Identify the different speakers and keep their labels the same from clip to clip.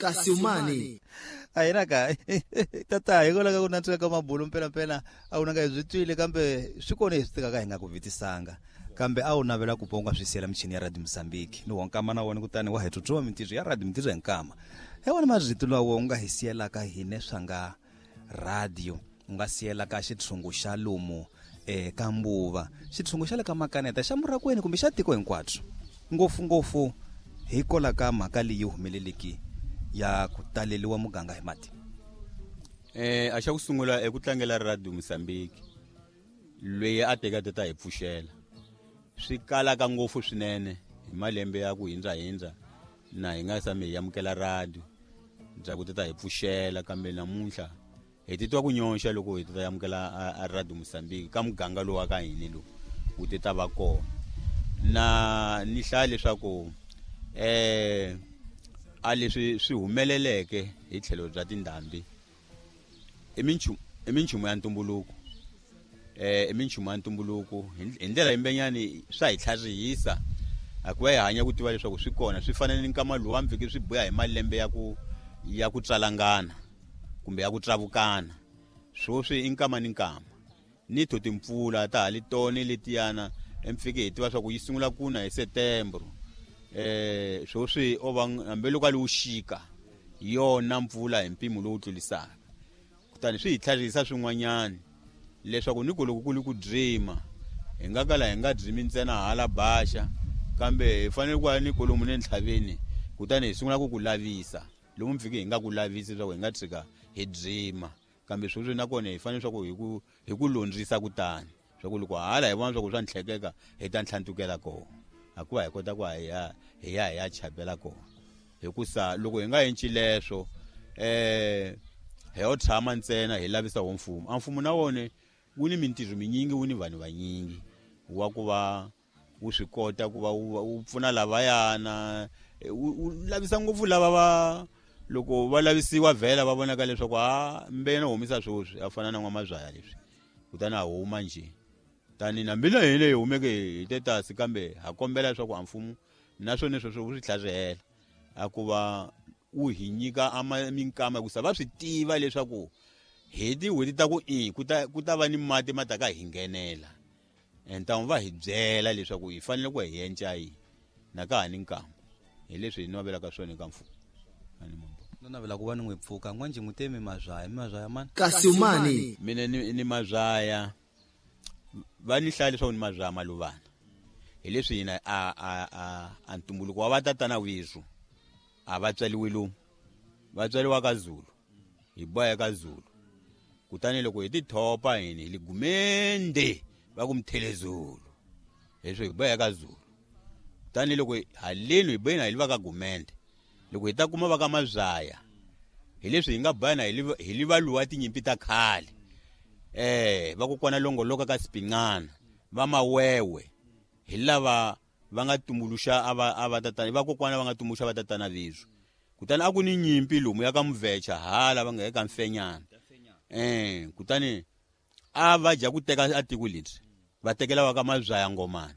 Speaker 1: Kasi umani
Speaker 2: a hina ka tata hikwalaho ka ku nantswika ka mabulu mpelampela a wu nanga hi byi twile kambe swi kona hi swi tekaka hi nga ku vitisanga kambe a wu navela ku pfa u nga swi siyela michini ya Radio Mozambique ni wo nkama na wona kutani wa hi tsutsuwa mintirho ya Radio mintirho hi nkama hi wona marito lawa u nga hi siyelaka hine swa nga radio u nga siyelaka xitshungu xa lomu ka mbuva xitshungu xa le ka makaneta xa murakweni kumbe xa tiko hinkwabyo ngopfungopfu hikola ka mhaka leyi humeleleki ya ku taleliwa muganga hi mati.
Speaker 3: A xa ku sungula eku tlangela Radio Mozambique loyi a teka ta hi pfuxela swi kalaka ngopfu swinene hi malembe ya ku hindzahindza na hi nga sami hi amukela radio bya ku ta hi pfuxela kambe namuntlha hi titwa ku nyonxa loko hi ta amukela a Radio Mozambique ka muganga lowu wa ka hina lowu wu ti ta va kona na ni hlaya leswaku a leswi swi humeleleke hi tlhelo bya tindhambi i minchumu ya ntumbuluko i minchumu ya ntumbuluko hi ndlela yimbenyani swa hi tlharihisa hikuva hi hanya ku tiva leswaku swi kona swi fanele ni nkama lowu wa swi buya hi malembe ya ku tswalangana kumbe ya ku tlavukana swoswi i nkama ni nkama ni to timpfula ta ha li tone letiyana emfike hi tiva swa ku yi sungula kuna hi September swoswi o va hambiloko a li wuxika yona mpfula hi mpimo lowu tlulisaka kutani swi hi tlharihisa swin'wanyana leswaku ni ku loko ku li ku dzima hi nga kala hi nga dzimi ntsena hala baxa kambe hi fanele ku ya ni kolomu ne ntlhaveni kutani hi sungula ku ku lavisa lomu mfike hi nga ku lavisi leswaku hi nga tshika hi dzima kambe sweswi nakona hi fanele swa ku hi ku londzisa kutani swa ku loko hala hi vona swa ku swa ntlhekeka hi ta ntlhantukela kona hikuva hi kota ku hi ya hi ya chapela kona hikusa loko hi nga endli leswo hi yo tshama ntsena hi lavisa wo mfumo a mfumo na wona wu ni mintirho minyingi wu ni vanhu vanyingi wa ku va wu swi kota ku va wu pfuna lavayana wu lavisa ngopfu lava va loko va lavisiwa vhela va vonaka leswaku a mbena humisa swoswi a fana na n'wamazwaya leswi kutani a huma nje tani na mina hi leyi humeke hi tetasi kambe ha kombela leswaku a mfumo naswona sweswo wu swi tlharihela a ku va wu hi nyika minkama hikusa va swi tiva leswaku hi tin'hweti ta ku i ku ta va ni mati ma ta ka hi nghenela ntamu va hi byela leswaku hi fanele ku hi enca yi na ka ha ni nkama hi leswi hi navelaka swona eka mfumo.
Speaker 2: No navela ku va ni n'wi pfuka n'wanjhe n'wi temi mazwaya mazwaya mani
Speaker 1: kasi umani
Speaker 3: mina ni mazwaya va ni hlaya leswaku ni mazwaya maluvana hi leswi hina a ntumbuluko wa vatatana wizu a va tswaliwi lomu va tswaliwa ka Zulu hi boya ka Zulu kutani loko hi tithopa hini hi ligumende va ku mthelezulu leswi hi boya ka Zulu kutani loko haleni hi boyina hi li va ka gumende loko hi ta kuma va ka mazwaya hi leswi hi nga boyana hi li va luwa tinyimpi ta khale va kokwana longoloka ka Sipinqana va mawewe hi lava va nga tumbuluxa a va tatana va kokwana va nga tumbuluxa va tatana leswi kutani a ku ni nyimpi lomu ya ka Mvecha hala va nga eka Mfenyana kutani a va dya ku teka a tiko lebyi va tekela va ka mazwaya ngomana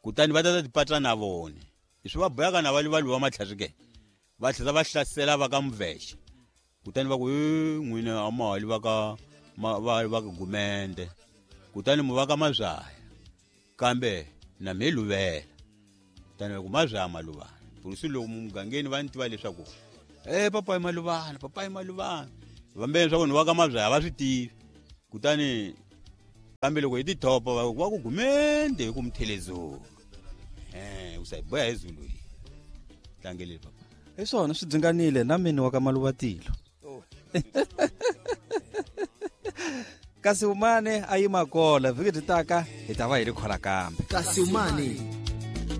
Speaker 3: kutani va ta tipatla na vona leswi va boyaka na va li va luwa matlharike va tlhela va hlasela va ka Mvecha kutani va ku n'wina a ma hali va ka va ka gumende kutani mu va ka mazwaya kambe na me luvela kutani va ku mazwaya maluvana pulusi loko mugangeni va ni tiva leswaku papayi maluvana papayi maluvana vambeni leswaku ni va ka mazwaya va swi tivi kutani kambe loko hi tithopa va ku gumende hi ku mthelezulu u sa hi boya hi Zulu hi tlangeleli papa
Speaker 2: hi swona swi dzinganile na mina wa ka Maluvatilo kasi umane a yima kola vhiki byi taka hi ta va hi ri khola kambe
Speaker 1: kasi umane.